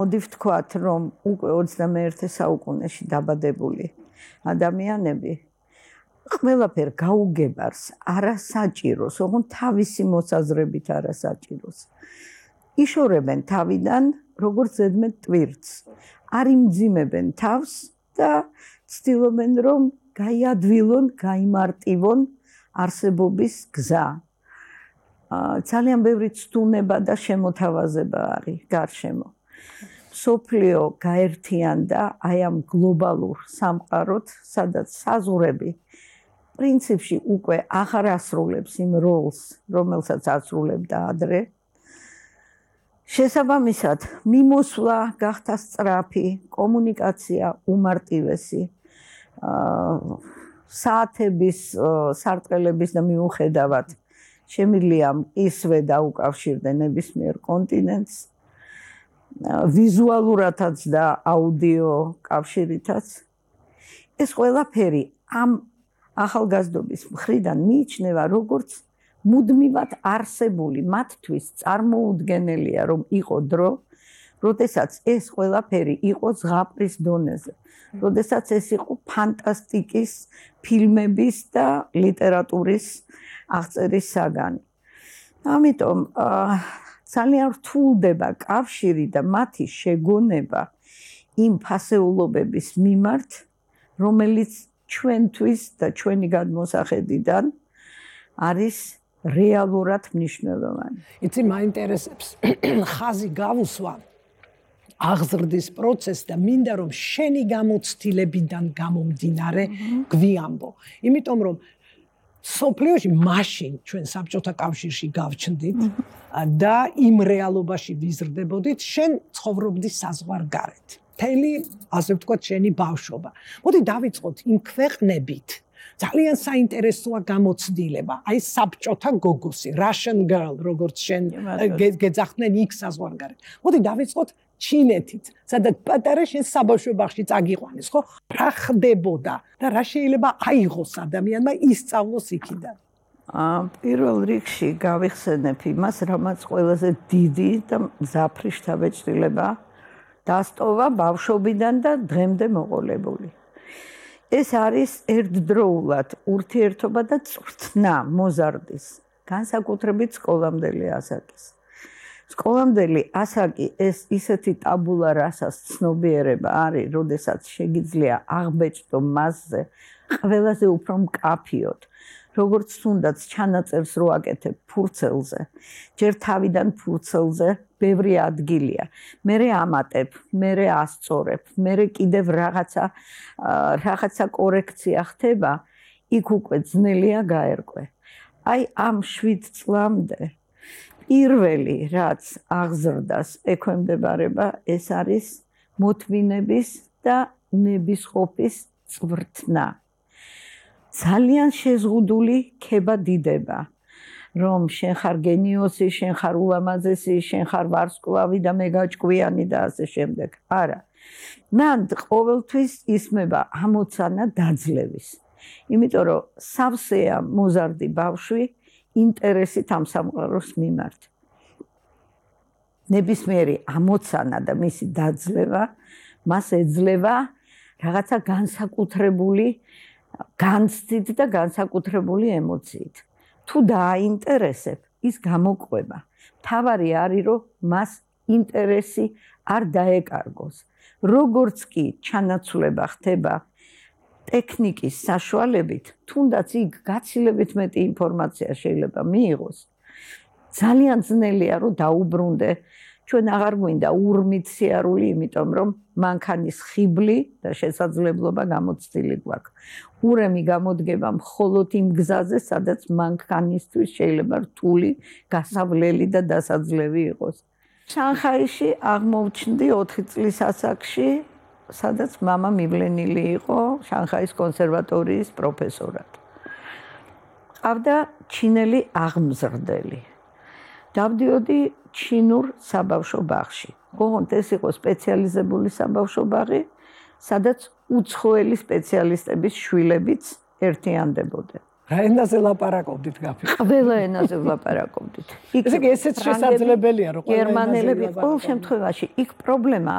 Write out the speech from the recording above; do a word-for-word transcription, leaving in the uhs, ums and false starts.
მოდი ვთქვათ, რომ უკვე ოცდამეერთე საუკუნეში დაბადებული ადამიანები ყველაფერ გაუგებარს, არასაჭიროს, ოღონდ თავისი მოსაზრებით არასაჭიროს. იშორებენ თავიდან, როგორც ზედმეტ ტვირთს. არ იმძიმებენ თავს და ცდილობენ, რომ გაიადვილონ, გაიმარტივონ არსებობის გზა. ძალიან ბევრი ცდუნება და შემოთავაზება არის გარშემო. სოფლიო გაერთიანდა აი ამ გლობალურ სამყაროთ, სადაც საზღვრები პრინციპში უკვე აღარ ასრულებს იმ როლს, რომელსაც ასრულებდა ადრე. შესაბამისად, მიმოსვლა გახდა სწრაფი, კომუნიკაცია უმარტივესი, საათების სარტყელების და მიუხედავად შემიძლია ისვე დაუკავშირდნენ ნებისმიერ კონტინენტს, ვიზუალურადაც და აუდიო კავშირითაც. ეს ყველაფერი ამ ახალგაზრდობის მხრიდან მიიჩნევა როგორც მუდმივად არსებული, მათთვის წარმოუდგენელია, რომ იყო დრო, როდესაც ეს ყველაფერი იყო ზღაპრის დონეზე, როდესაც ეს იყო ფანტასტიკის, ფილმების და ლიტერატურის აღწერის საგანი. ამიტომ ძალიან რთულდება კავშირი და მათი შეგონება იმ ფასეულობების მიმართ, რომელიც ჩვენთვის და ჩვენი გადმოსახედიდან არის რეალურად მნიშვნელოვანი. იცი, მაინტერესებს ხაზი გავუსვა აღზრდის პროცესს და მინდა რომ შენი გამოცდილებიდან გამომდინარე გვიამბო. იმიტომ რომ სოფლიოში მაშინ ჩვენ საბჭოთა კავშირში გავჩნდით და იმ რეალობაში ვიზრდებოდით, შენ ცხოვრობდი საზღვარგარეთ. მთელი, ასე ვთქვათ, შენი ბავშვობა. მოდი დავიწყოთ იმ ქვეყნებით. ძალიან საინტერესოა გამოცდილება. აი საბჭოთა გოგოსი, Russian girl, როგორც შენ გეძახდნენ იქ საზღვარგარეთ. მოდი დავიწყოთ ჩინეთით, სადაც პატარა შენ საბავშვო ბაღში წაგიყვანეს, ხო? რა ხდებოდა და რა შეიძლება აიღოს ადამიანმა ისწავლოს იქიდან? პირველ რიგში გავიხსენებ იმას, რამაც ყველაზე დიდი და მძაფრი შთაბეჭდილება დასტოვა ბავშვობიდან და დღემდე მოყოლებული. ეს არის ერთდროულად ურთიერთობა და წვრთნა მოზარდის, განსაკუთრებით სკოლამდელი ასაკის. სკოლამდელი ასაკი ეს ისეთი ტაბულა რასას ცნობიერება არის, როდესაც შეგიძლია აღბეჭდო მასზე ყველაზე უფრო მკაფიოდ, როგორც თუნდაც ჩანაწერს რო აკეთებ ფურცელზე, ჯერ თავიდან ფურცელზე ბევრი ადგილია. მერე ამატებ, მერე ასწორებ, მერე კიდევ რაღაცა რაღაცა კორექცია ხდება, იქ უკვე ძნელია გაერკვე. აი ამ შვიდ წლამდე პირველი რაც აღზრდას ექვემდებარება, ეს არის მოთმინების და ნებისყოფის წვრთნა. ძალიან შეზღუდული ქება დიდება, რომ შენ ხარ გენიოსი, შენ ხარ ულამაზესი, შენ ხარ ვარსკვლავი და მე გაჭკვიანი და ასე შემდეგ. არა. მან ყოველთვის ისმება ამოცანა დაძლევის. იმიტომ რომ სავსეა მოზარდი ბავშვი ინტერესით ამ სამყაროს მიმართ. ნებისმიერი ამოცანა და მისი დაძლევა მას ეძლევა რაღაცა განსაკუთრებული განცდით და განსაკუთრებული ემოციით. თუ დააინტერესებ, ის გამოყვება. თავარი არის, რომ მას ინტერესი არ დაეკარგოს. როგორც კი ჩანაცვლება ხდება ტექნიკის საშუალებით, თუნდაც იქ გაცილებით მეტი ინფორმაცია შეიძლება მიიღოს. ძალიან ძნელია, რომ დაუბრუნდე. ჩვენ აღარ გვინდა ურმით სიარული, იმიტომ რომ მანქანის ხიბლი და შესაძლებლობა გამოცდილი გვაქვს. ურემი გამოდგება მხოლოდ იმ გზაზე, სადაც მანქანისთვის შეიძლება რთული, გასავლელი და დასაძლევი იყოს. შანხაიში აღმოჩნდი ოთხი წლის ასაკში, სადაც მამა მივლენილი იყო შანხაის კონსერვატორიის პროფესორად. ყავდა ჩინელი აღმზრდელი. დავდიოდი ჩინურ საბავშვო ბაღში. ოღონდ ეს იყო სპეციალიზებული საბავშვო ბაღი, სადაც უცხოელი სპეციალისტების შვილებიც ერთიანდებოდნენ. რა ენაზე ლაპარაკობდით გაფი? ყველა ენაზე ვლაპარაკობდით. ესე იგი ესეც შესაძლებელია რომ ყველა ენაზე გერმანელები ვლაპარაკობდით. ყოველ შემთხვევაში იქ პრობლემა